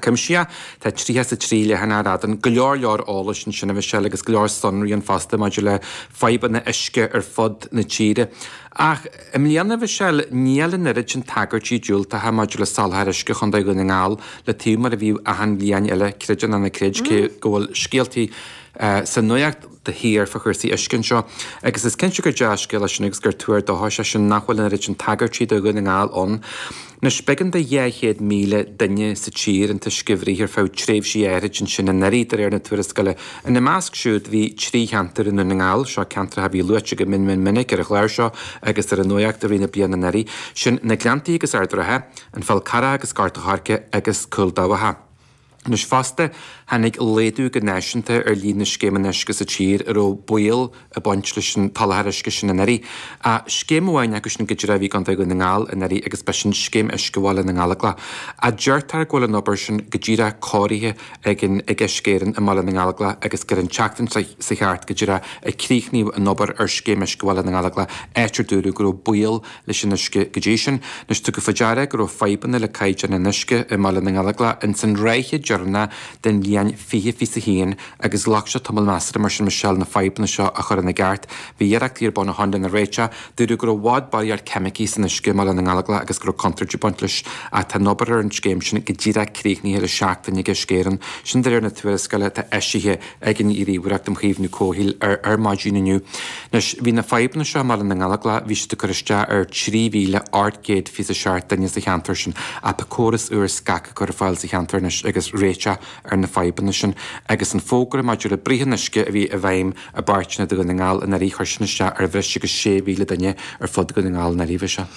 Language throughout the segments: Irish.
cuimsitheach. Tá 33 leathanach ar fhad ann. Go leor leor eolais ansin a Mhichelle agus go leor sonraí ann fosta maidir le fadhbanna uisce ar fud na tíre. Ach i mbliana, a Mhichelle, níl an oiread sin tagairtí diúltacha maidir le soláthar uisce Chontae Dhún na nGall le taobh mar a bhíodh achan bhliain eile, creid é nó ná creid, cé go bhfuil scéaltaí sa nuacht de shíor fá chúrsaí uisce anseo. Agus is cinnte gur dea-scéal é sin agus gur tuar dóchais é sin nach bhfuil an oiread sin tagairtí do Dhún na nGall ann. Anois, b'éigean do 200,000 duine sa tír an t-uisce a bhruith ar feadh tréimhsí áithrid ansin anuraidh, de réir na tuarascála. Ina measc siúd bhí 3 cheantar i nDún na nGall, seo ceantracha a bhí luaite go mion mion minic ar an chlár seo agus ar an nuacht i rith na bliana anuraidh. Sin na Gleanntaí agus Ard an Rátha, an Fál Carrach agus Gort an Choirce agus Cúil Dabhcha. Anois fosta, tháinig laghdú go náisiúnta ar líon na scéimeanna uisce sa tír a raibh baol ag baint leis an tsoláthar uisce sin anuraidh. Ach scéim amháin acu sin go díreach a bhí i gContae Dhún na nGall anuraidh agus b'shin Scéim Uisce Bhaile na nGallóglach. Ach deirtear go bhfuil an obair sin go díreach cóirithe ag an ag Uisce Éireann i mBaile na nGallóglach agus gur an tseachtain seo thart go díreach a críochnaíodh an obair ar Scéim Uisce Bhaile na nGallóglach, áit ar dúradh go raibh baol leis an uisce go dtí sin. Anois tugadh faoi deara go raibh fadhbanna le caighdeán an uisce i mBaile na nGallóglach ins an ráithe deireanach den bhliain 2021 agus ghlac sé tamall measartha mar sin Michelle na fadhbanna seo a chur ina gceart. Bhí iarrachtaí ar bun ó shoin lena réiteach. Dúradh go raibh i bhfad barraíocht ceimicí san uisce i mBaile na nGallóglach agus go raibh contúirt ag baint leis ach tá an obair ar an scéim sin go díreach críochnaithe le seachtain ag Uisce Éireann. Sin de réir na tuarascála atá eisithe ag an Ghníomhaireacht um Chaomhnú Comhshaoil ar maidin inniu. Anois, bhí na fadhbanna seo i mBaile na nGallóglach, bhí siad ag cur isteach ar 3,827 duine sa cheantar sin, ach tá córas úr scagtha curtha ar fáil sa cheantar anois agus réiteach ar na fadhbanna sin. Agus an fógra maidir le bruith an uisce a bhí i bhfeidhm i bpáirteanna de Dhún na nGall anuraidh, chuir sin isteach ar bhreis agus 6,000 duine ar fud Dhún na nGall anuraidh, bhí sé.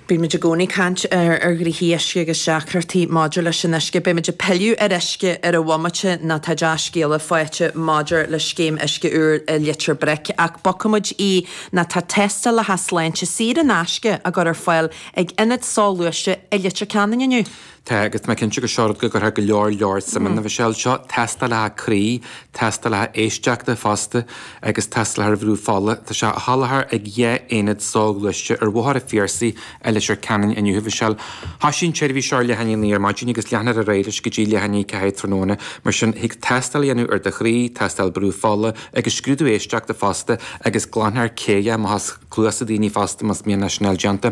Bímid i gcónaí ag caint ar ghnoithí uisce agus deacrachtaí maidir leis an uisce. Beimid ag pilleadh ar uisce ar an bhomaite nó tá dea-scéala faighte maidir le scéim uisce úr i Leitir Bric. Ach bogfaimid í nó tá tástálacha sláinte saor in aisce á gcur ar fáil ag Ionad Soghluaiste i Leitir Ceanainn inniu. Tá, agus tá mé cinnte gur seo rud go gcuirfeadh go leor leor suim ann, a Mhichelle. Seo tástálacha croí, tástálacha éisteachta fosta agus tástálacha ar bhrú fola. Tá sé á sholáthar ag dhá aonad soghluaiste ar Bhóthar an Phiarsaigh i Leitir Ceanainn inniu, a Mhichelle. Thoisigh an tseirbhís seo ar leath i ndiaidh a naoi ar maidin agus leanfar ar aghaidh leis go dtí leath i ndiaidh a ceathair tráthnóna. Mar sin, thig tástáil a dhéanamh ar do chroí, tástáil brú fola agus scrúdú éisteachta fosta agus glanfar céille amach as cluasa daoine fosta más mian leis sin a fháil déanta.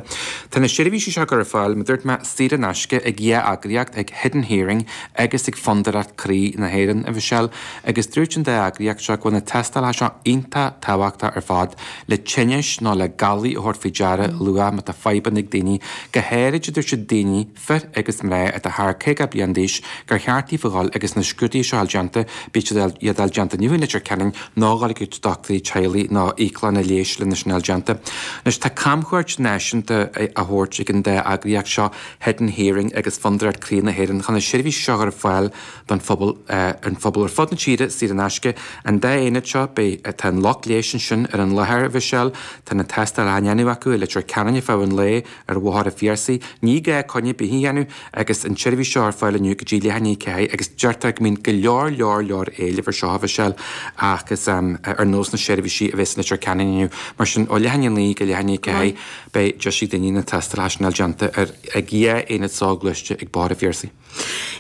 Tá na seirbhísí seo á gcur ar fáil, mar a dúirt mé, saor in aisce ag dhá eagraíocht, ag Hidden Hearing agus ag Fondúireacht Croí na hÉireann, a Mhichelle, agus dúirt an dá eagraíocht seo go bhfuil na tástálacha seo iontach tábhachtach ar fad le tinnis nó le galair a thabhairt faoi deara luath má tá fadhbanna ag daoine, go háirid, a dúirt siad, daoine, fir agus mná atá thar 50 bliain d'aois, gur cheart daofa dhul agus na scrúduithe seo a fháil déanta, bíodh siad iad a fháil déanta inniu i Leitir Ceanainn nó dhul ag dochtúirí teaghlaigh nó íoclanna leighis lena sin a fháil déanta. Anois tá camchuairt náisiúnta á thabhairt ag an dá eagraíocht seo, Hidden Hearing agus Fondúireacht Croí na hÉireann, chun na seirbhísí seo a chur ar fáil don phobal, an phobal ar fud na tíre, saor in aisce. An dá aonad seo, beidh, tá an lucht leighis ansin ar an láthair, a Mhichelle, tá na tástálacha á ndéanamh acu i Leitir Ceanainn ar feadh an lae, ar Bhóthar an Phiarsaigh. Ní gá coinne ar bith a dhéanamh agus an tseirbhís seo ar fáil inniu go dtí leath i ndiaidh a ceathair agus deirtear go mbíonn go leor leor leor éilimh ar seo, a Mhichelle, agus ar nós na seirbhísí a bheas i Leitir Ceanainn inniu. Mar sin, ó leath i ndiaidh a naoi go leath i ndiaidh a ceathair, beidh deis ag daoine na tástálacha sin a fháil déanta ar ag dhá aonad soghluaiste ag Bóthar an Phiarsaigh.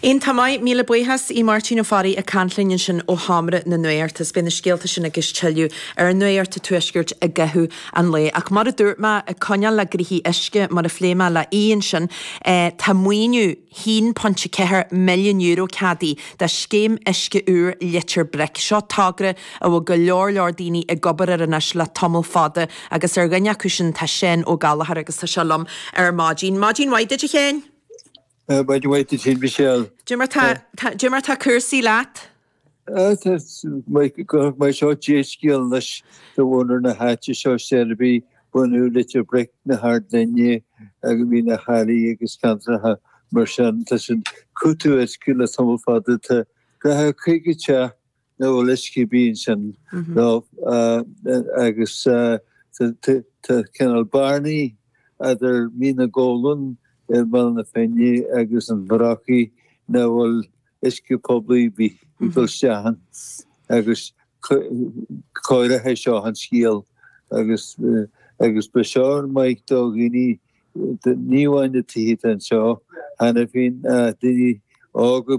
Iontach maith, míle buíochas i Máirtín Ó Fearraigh ag caint linn ansin ó Sheomra na Nuachta. Is beidh na scéalta sin agus tuilleadh ar Nuacht an Tuaiscirt i gcaitheamh an lae. Ach mar a dúirt mé, ag coinneáil le gnoithí uisce, mar a phléigh mé le Aodh ansin, tá maoiniú €1.4 milliún ceadaithe do Scéim Uisce Úr Leitir Bric. Seo togra a bhfuil go leor leor daoine ag obair air anois le tamall fada agus ar dhuine acu sin tá Seán Ó Gallchóir agus tá sé liom ar maidin. Maidin mhaith duit a Sheáin! Maidin mhaith duit féin Michelle. Cad é mar tá, cad é mar tá cúrsaí leat? Tá mar seo dea-scéal anois do mhuintir na háite seo Seilbí, bunadh Leitir Bric, na hArd Fhinne agus Mín a' Charraigh agus ceantracha mar sin. Tá siad ag cúiteamh uisce le tamall fada. Tá gach 50 teach nach bhfuil uisce ar bith ansin agus tá cineál bearnaí idir Mín na gCoghlan i mBaile na Finne agus an Bhrocaigh nach bhfuil uisce poiblí ar bith ag dul isteach ann agus cóireoidh seo an scéal agus agus beidh seo maith do dhaoine ní amháin na tithe atá anseo cheana féin ach daoine óga.